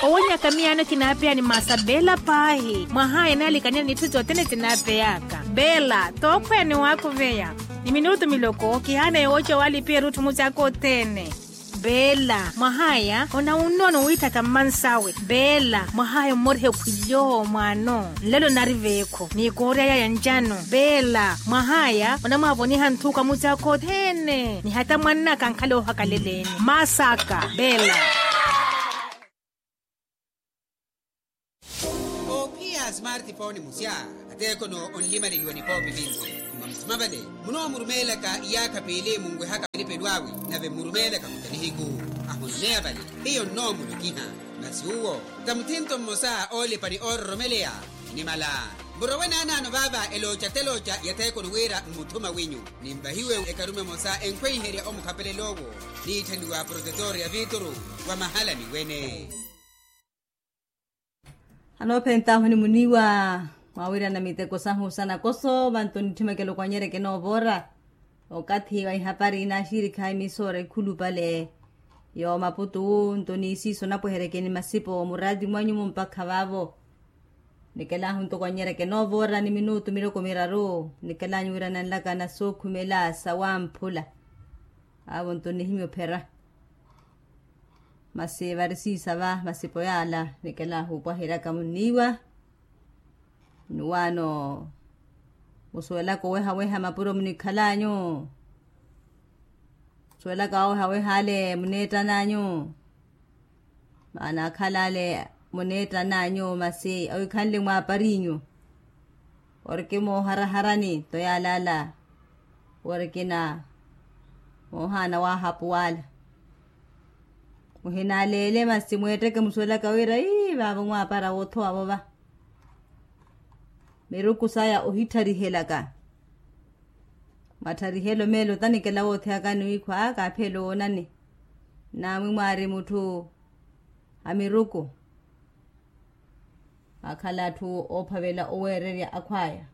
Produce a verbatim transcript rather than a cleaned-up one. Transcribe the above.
Owonyaka miyaano kinaapeya ni masa beela paahi mwahaya enaalikanyani n'itthu sothene sinaapeyaka. Beela tookhweya ni waakhuveya ni minutu miloko kihaana yooca waalipiya erutthu musi aka othene. Beela mwahaya onawunnono wiithatha mmansawe. Beela mwahaya ommoriha ekhwilyo mwaano nlelo nari veekho ni koorya yaya ncano. Beela mwahaya onamwaavoniha nthuka musi aka othene ni hata mwannaka ankhale oohakaleleeni. Masaka beela. Oophiya a smartphone musya ateekono onlimaleliwa nipoopi vinci. Mwa musima vale munoomurumeelaka iyaakha piili munwehaka elipelo awe nave mmurumeelaka muta nihiku. Ahonneya vale hiyo nnoomulokiha masi uwo ta muthinto mmosa oolipa ni oororomeleya. Nimala murowe naanaano vaava elooca telooca yatheekono wira mmuthuma winyu. Ninvahiwe ekarume emosa enkhweiherya omukhapelel'owo niitthaniwa protetor ya vituru wa mahala niwene. Anoophent'ahu ni muniiwa mwawirana miteko sahu sa nakoso vanto nitthimekela okwanyereke noovoora. Okathi wa ihapari inaaxirikha imisoora ekhulupale yoomaputu nto ni isiiso napweherekeni masipo muraati mwanyu mumpakha vaavo. Nikelahu ntoko anyereke noovoora ni minutu miloko miraru nikelanyu wira nanlaka na sookhumela sawamphula. Aavo nto nihimya ophera masi varisiisa va masipo yaala nikelahu opwaheryaka munniiwa. Nuwaano musuwelaka owehaweha mapuro munikhalanyu. Musuwelaka owehaweha ale muneettananyu. Maana akhala ale muneettananyu masi awikhanle mwaaparinyu. Oriki mooharaharani to yaalaala orikina moohaana waahapuwaala. Muhinaleele masi mweetteke musuwelaka wira ii vaavo mwaapara woothowa vova. Miruku saya ohittarihelaka. Mattarihelo meelo tanikela wootheyakani wiikhwa kaapheelo woonani. Naamwi mwaari mutthu a miruku akhala atthu oophavela oweererya akhwaya.